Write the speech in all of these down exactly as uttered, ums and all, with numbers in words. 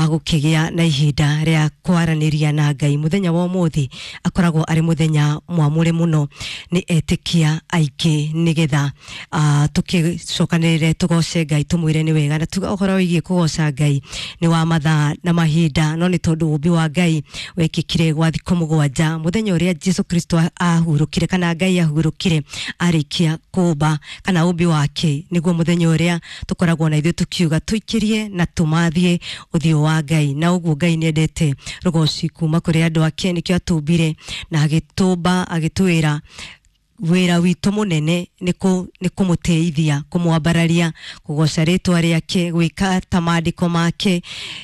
gũkĩgĩa na ihinda rĩa kwaranĩria na Ngai. Mũthenya wa ũmũthĩ akoragwo arĩ mũthenya mwamũre mũno nĩ etĩkia aingĩ, nĩgetha uh, tũkĩcokanĩrĩre tũgoce Ngai, tũmwĩre nĩ wega. Na tuga ũhoro wĩgiĩ kũgoca Ngai nĩ wa mathaa na mahinda, no nĩ tondũ ũmbi wa Ngai wekĩkire gwa thikũ mũgwanja, mũthenya ũrĩa Jesu Kristo ahurũkire kana Ngai ahurũkire arĩkia kũmba kana ũmbi wake, nĩguo mũthenya ũrĩa tũkoragwo na ithuĩ tũkiuga tũikĩrie na tũmathie ũthiũ wa Ngai. Na ũguo Ngai nĩendete rũgoci kuma kũrĩ andũ ake, nĩkĩo atũmbire na agĩtũmba agĩtwĩra wĩra witũ mũnene nĩ kũmũteithia, kũmwambararia, kũgoca rĩtwa rĩake, gwĩka ta maandĩko make,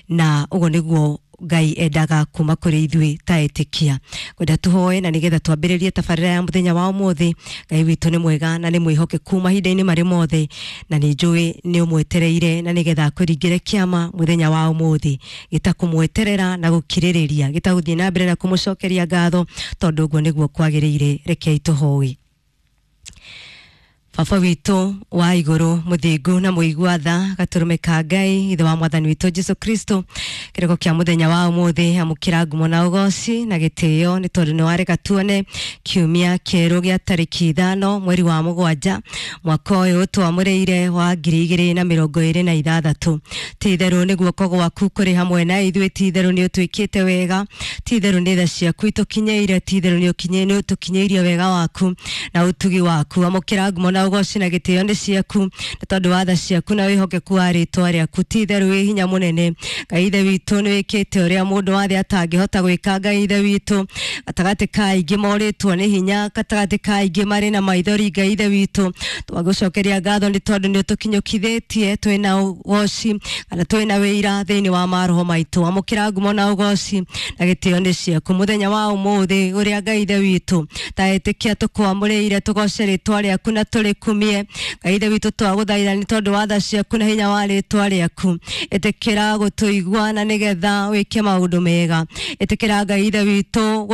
na ũguo nĩguo Ngai endaga kuma kũrĩ ithuĩ ta etĩkia. Kwenda tũhoe na nĩgetha twambĩrĩrie tabarĩra ya mũthenya wa ũmũthĩ. Ngai witũ nĩ mwega na nĩ mwĩhokeku mahinda-inĩ marĩ mothe, na nĩ njũĩ nĩ ũmwetereire na nĩgetha akũringĩre kĩama mũthenya wa ũmũthĩ, gĩtakũmweterera na gũkirĩrĩria, gĩtagũthiĩ na mbere na kũmũcokeria ngatho, tondũ ũguo nĩguo kwagĩrĩire. Rekei tũhoe. Baba witũ wa igũrũ, mũthingu na mũigua tha, gatũrũme ka Ngai, ithe wa mwathani witũ Jesu Kristo, kĩrĩko kĩa mũthenya wa ũmũthĩ, amũkĩra ngumo na ũgoci na gĩtĩo, nĩ tondũ nĩ wareka tuone kiumia kĩerũ gĩa tarĩki ithano mweri wa mũgwanja mwaka ũyũ twamũrĩire wa ngiri igĩrĩ na mĩrongo ĩrĩ na ithathatũ. Ti itherũ nĩ guoko gwaku kũrĩ hamwe na ithuĩ, ti itherũ nĩ ũtwĩkĩte wega, ti itherũ nĩ tha ciaku itũkinyĩire, ti itherũ nĩ ũtũkinyĩirie wega waku na ũtugi waku. Amũkĩra ngumo na ũgoci na gĩtĩo nĩ ciaku, nĩ tondũ wa tha ciaku na wĩhokeku wa rĩtwa rĩaku. Ti itherũ wĩ hinya mũnene. Ngai ithe witũ, nĩ wĩkĩte ũrĩa mũndũ wa thĩ atangĩhota gwĩka. Ngai ithe witũ, gatagatĩ ka aingĩ morĩtwo nĩ hinya, gatagatĩ ka aingĩ marĩ na maithori, Ngai ithe witũ twagũcokeria ngatho nĩ tondũ nĩ ũtũkinyũkithĩtie twĩna ũgoci kana twĩna wĩira thĩinĩ wa maroho maitũ. Amũkĩra ngumo na ũgoci na gĩtĩo nĩ ciaku mũthenya wa ũmũthĩ ũrĩa Ngai ithe witũ ta etĩkia tũkwamũrĩire tũgoce rĩtwa rĩaku na tũrĩkumie. Ngai ithe witũ twagũthaitha nĩ tondũ wa tha ciaku na hinya wa rĩtwa rĩaku, ĩtĩkĩra gũtũigua na nĩgetha wĩke maũndũ mega. Ĩtĩkĩra Ngai ithe witũ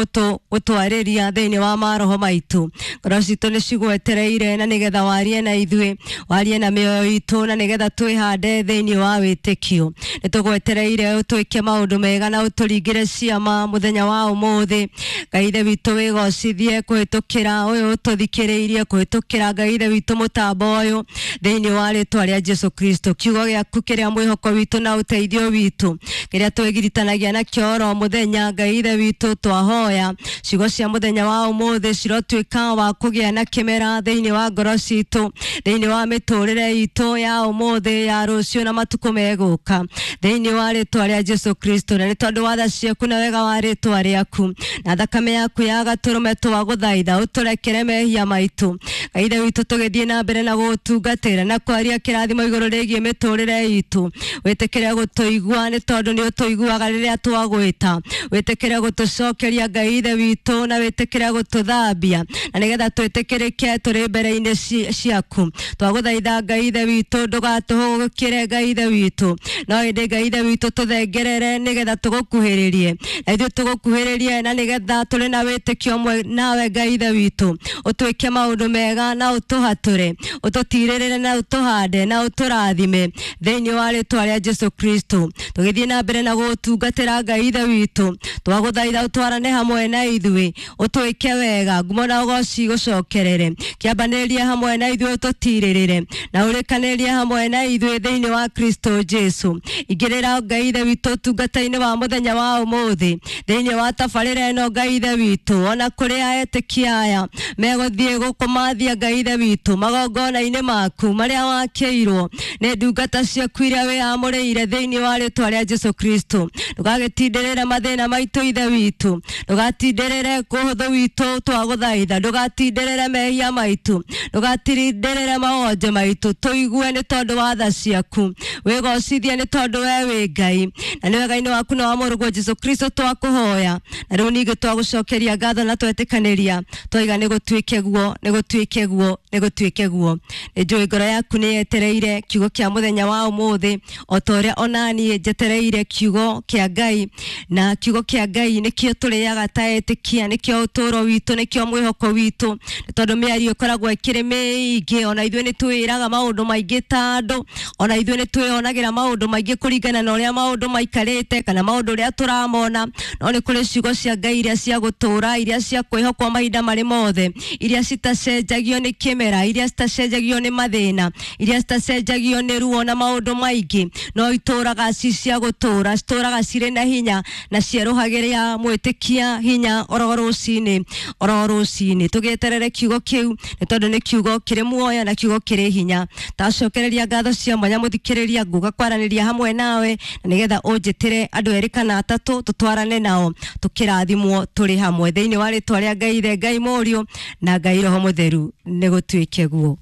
gũtwarĩria thĩinĩ wa maroho maitũ. Ngoro citũ nĩ cigwetereire na nĩgetha warie na ithuĩ, warie na mĩoyo itũ na nĩgetha twĩhande thĩinĩ wa wĩtĩkio. Nĩ tũgwetereire ũtwĩke maũndũ mega na ũtũringĩre ciama mũthenya wa ũmũthĩ. Ngai ithe witũ wĩgocithie kũhĩtũkĩra ũyũ ũtũthikĩrĩirie, kũhĩtũkĩra Ngai ithe witũ mũtambo ũyũ thĩinĩ wa rĩtwa rĩa Jesu Kristo. Kiugo gĩaku kĩrĩa mwĩhoko witũ na ũteithio witũ, kĩrĩa twĩgiritanagia nakĩo oro mũthenya, Ngai ithe witũ twahoya ciugo cia mũthenya wa ũmũthĩ cirotuĩka wa kũgĩa na kĩmera thĩinĩ wa ngoro citũ, thĩinĩ wa mĩtũrĩre itũ ya ũmũthĩ, ya rũciũ na matukũ megũka, thĩinĩ wa rĩtwa rĩa Jesu Kristo. Na nĩ tondũ wa tha ciaku na wega wa rĩtwa rĩaku na thakame yaku ya gatũrũme, twagũthaitha ũtũrekere mehia maitũ. Ngai ithe witũ tũgĩthiĩ na mbere na gũgũtungatĩra na kwaria kĩrathimo igũrũ rĩgiĩ mĩtũrĩre itũ, wĩtĩkĩre gũtũigua nĩ tondũ nĩ ũtũiguaga rĩrĩa twagwĩta. Wĩtĩkĩre gũtũcokeria Ngai ithe witũ na wĩtĩkĩre gũtũthambia na nĩgetha twĩtĩkĩrĩke tũrĩ mbere-inĩ ciaku. Twagũthaitha Ngai ithe witũ ndũgatũhũgũkĩre Ngai ithe witũ, no ĩndĩ Ngai ithe witũ tũthengerere nĩgetha tũgũkuhĩrĩrie, na ithuĩ tũgũkuhĩrĩrie na nĩgetha tũrĩ na wĩtĩkio ũmwe nawe Ngai ithe witũ, ũtwĩke maũndũ mega na ũtũhatũre, ũtũtirĩrĩre na ũtũhande na ũtũrathime thĩinĩ wa rĩtwa rĩa Jesu Kristo. Tũgĩthiĩ na mbere na gũgũtungatĩra Ngai ithe witũ, twagũthaitha ũtwarane hamwe na ithuĩ, ũtwĩke wega, ngumo na ũgoci gũcokerere, kĩambanĩrĩrie hamwe na ithuĩ, ũtũtirĩrĩre na ũrĩkanĩrie hamwe na ithuĩ thĩinĩ wa Kristo Jesu. Ingĩrĩra Ngai ithe witũ ũtungata-inĩ wa mũthenya wa ũmũthĩ, thĩinĩ wa tabarĩra ĩno Ngai ithe witũ, ona kũrĩ etĩkia aya megũthiĩ gũkũmathia Ngai ithe witũ magongona-inĩ maku marĩa wakĩirwo nĩ ndungata ciaku iria wĩyamũrĩire thĩinĩ wa rĩtwa rĩa Jesu Kristo. Ndũgagĩtindĩrĩre mathĩna maitũ ithe witũ, ndũgatindĩrĩre kũhũthũ witũ twagũthaitha, ndũgatindĩrĩre mehia maitũ, ndũgatindĩrĩre mawonje maitũ, tũigue nĩ tondũ wa tha ciaku, wĩgocithie nĩ tondũ we wĩ Ngai, na nĩ wega-inĩ waku na wa mũrũguo Jesu Kristo twakũhoya. Na rĩu ningĩ twagũcokeria ngatho na twetĩkanĩria twaiga nĩ gũtuĩke guo, nĩ gũtuĩke guo Nĩ gũtuĩke guo. Nĩ njũĩ ngoro yaku nĩ yetereire kiugo kĩa mũthenya wa ũmũthĩ, o ta ũrĩa onaniĩ njetereire kiugo kĩa Ngai. Na kiugo kĩa Ngai nĩkĩo tũrĩaga ta etĩkia, nĩkĩo ũtũũro witũ, nĩkĩo mwĩhoko witũ, nĩ tondũ mĩario ĩkoragwo ĩkĩrĩ mĩingĩ. Ona ithuĩ nĩ twĩraga maũndũ maingĩ ta andũ, ona ithuĩ nĩ twĩyonagĩra maũndũ maingĩ kũringana na ũrĩa maũndũ maikarĩte kana maũndũ ũrĩa tũramona. No nĩ kũrĩ ciugo cia Ngai iria cia gũtũũra, iria cia kwĩhokwo mahinda marĩ mothe, iria citacenjagio nĩ kĩmera, iria citacenjagio nĩ mathĩna, iria citacenjagio nĩ ruo na maũndũ maingĩ, no itũũraga ci cia gũtũũra, citũũraga cirĩ na hinya na cierũhagĩria mwĩtĩkia hinya oro rũcinĩ, oro rũcinĩ. Tũgĩeterere kiugo kĩu, nĩ tondũ nĩ kiugo kĩrĩ muoyo na kiugo kĩrĩ hinya. Tacokereria ngatho cia mwanya mũthikĩrĩria, nguga kwaranĩria hamwe nawe na nĩgetha ũnjĩtĩre andũ erĩ kana atatũ tũtwarane nao tũkĩrathimwo tũrĩ hamwe thĩinĩ wa rĩtwa rĩa Ngai Ithe, Ngai Mũriũ na Ngai Roho Mũtheru. Nĩ gũtuĩke guo.